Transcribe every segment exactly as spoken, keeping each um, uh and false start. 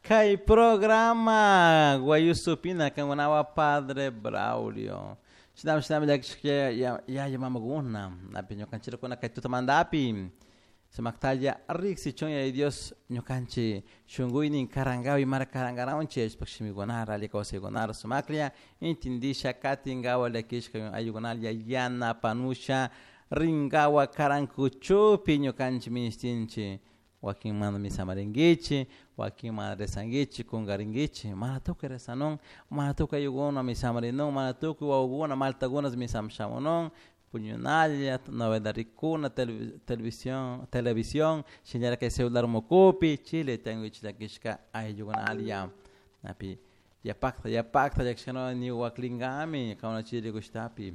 Kay programa Guayusupina kankunawa Padre Braulio. Shinami shinami llakishka yaya mamakuna napi ñukanchikuna kay tutamantapi sumaktalla riksichun Yaya Dios ñukanchik shunkuynin karankawi mara karankaranchik yachashpa shimikunara alli kawsaykunara sumaklla intindisha katinkawa llakishka ayukunalla yanapanusha rinkawa karankuchupi ñukanchik ministinchik wakin mana misamarinkichik wakin mana rezankichik kunkarinkichik mana tukuy rezanun mana tukuy ayllukuna misamarinun mana tukuy wawakuna maltakuna misaman shamunun puñunalla novela rikuna televisión televisión shinallara kay celular mukupi chile tiyankichik llakishka ayllukunalla napi yapakta yapakta llakishkanuna ni waklinkami kankuna chay rikushtapi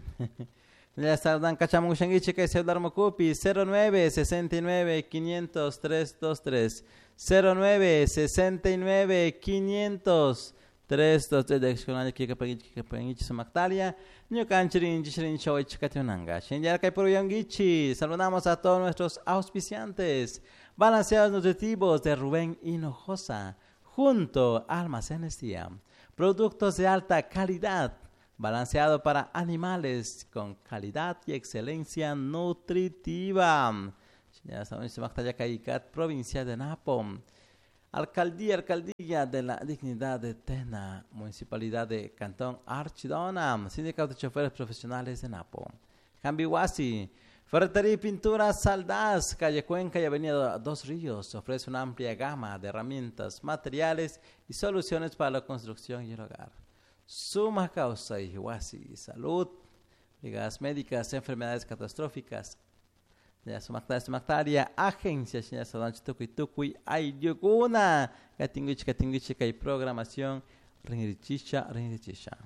saludan kachamukushankichik kay celular mukupi cero nueve sesenta y nueve quinientos tres dos tres cero nueve sesenta y nueve quinientos tres dos tres llakishkunalla killkapankichik killkapankichik sumaktalla ñukanchik rinchik rinchik waychik katinanka shinallara kay puruyankichik. Saludamos a todos nuestros auspiciantes balanceados nutritivos de Rubén Hinojosa junto a Almacenes Día, productos de alta calidad balanceado para animales con calidad y excelencia nutritiva. Provincia de Napo. Alcaldía, Alcaldía de la Dignidad de Tena, Municipalidad de Cantón Archidona, Sindicato de Choferes Profesionales de Napo. Cambihuasi, Ferretería y Pintura Saldaz, calle Cuenca y Avenida Dos Ríos, ofrece una amplia gama de herramientas, materiales y soluciones para la construcción y el hogar. Suma causa y huasi, salud, brigadas médicas, enfermedades catastróficas, sumaktaria, sumaktaria, agencia, señora tukuy tukuy ayllukuna, katinguichi katinguichi kay programación, rinrichisha, rinrichisha.